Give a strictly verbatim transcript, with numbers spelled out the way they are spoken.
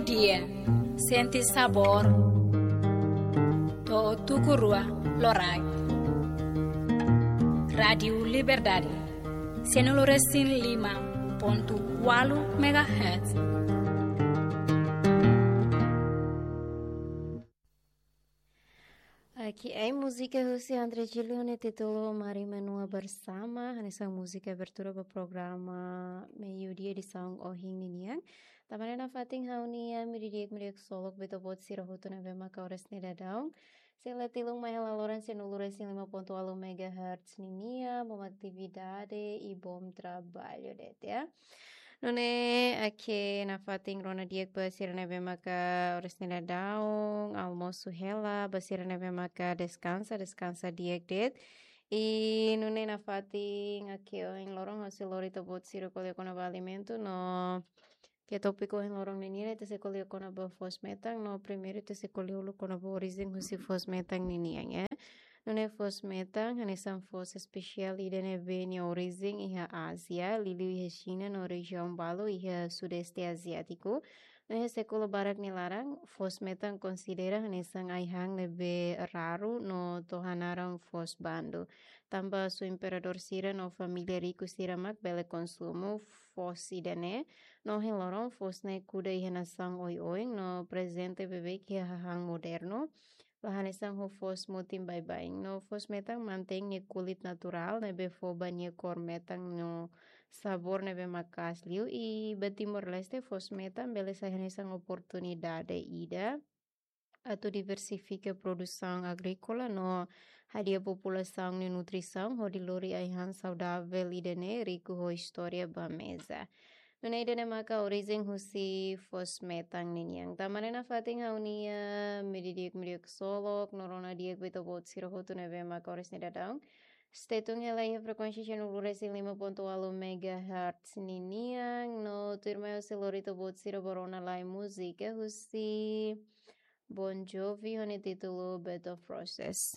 Dia, sente sabór. To'o tuku rua loraik. Rádiu Liberdade, sianulu resin lima pontu ualu megahertz. Oke, ai múzika husi André Gil ho nia títulu Mari Menua Bersama, hanesan múzika abertura ba programa Meiudia edisaun ohin ninian. Tanba ne'e nafatin ha'u-nia imi di'ak, imi di'ak ksolok ba ita-boot sira hotu ne'ebé maka oras ne'e daudaun sei la tilun mai hela loron sianulu resin lima pontu ualu megahertz ninian, bom atividade i bom traballu de'it, ya. Nune'e, oke, nafatin rona di'ak ba sira ne'ebé maka oras ne'e daudaun almosu hela, ba sira ne'ebé maka deskansa, deskansa di'ak de'it. I nune'e nafatin, oke, ohin loron ha'u sei lori ita-boot sira ko'alia kona-ba alimentu no ke tópiku ohin loron ninian ita sei ko'alia kona-ba foos-metan no primeiru ita sei ko'alia uluk kona-ba orijen husi foos-metan ninian, ya. Nune'e foos-metan hanesan foos espesiál ida ne'ebé nia orijen iha Ázia, liuliu iha Xina no rejiaun balu iha Sudeste Aziátiku. No iha sékulu barak nia laran, foos-metan konsidera hanesan ai-han ne'ebé raru no to'o hanaran foos bandu. Tanba sua imperadór sira no família riku sira mak bele konsumu foos ida-ne'e, no ohin loron foos ne'e kuda iha nasaun oioin no prezente beibeik iha hahán modernu. La hanesan ho foos mutin baibain. No foos-metan mantein nia kulit naturál ne'ebé fó ba nia kór metan no sabór ne'ebé maka'as liu. I ba Timor-Leste foos-metan bele sai hanesan oportunidade ida atu diversifika produsaun agríkola no hadi'a populasaun nia nutrisaun hodi lori ai-han saudavel ida-ne'e riku ho istória ba meza. Nune'e ida-ne'e maka orijen husi foos-metan ninian. Tanba ne'e nafatin ha'u-nia imi di'ak, imi di'ak ksolok no rona di'ak ba ita-boot sira hotu ne'ebé maka oras ne'e daudaun stay tune hela iha frekuénsia sianulu resin lima pontu ualu megahertz ninian no tuirmai ha'u sei lori ita-boot sira ba rona lai múzika husi Bon Jovi ho nia títulu Better Roses.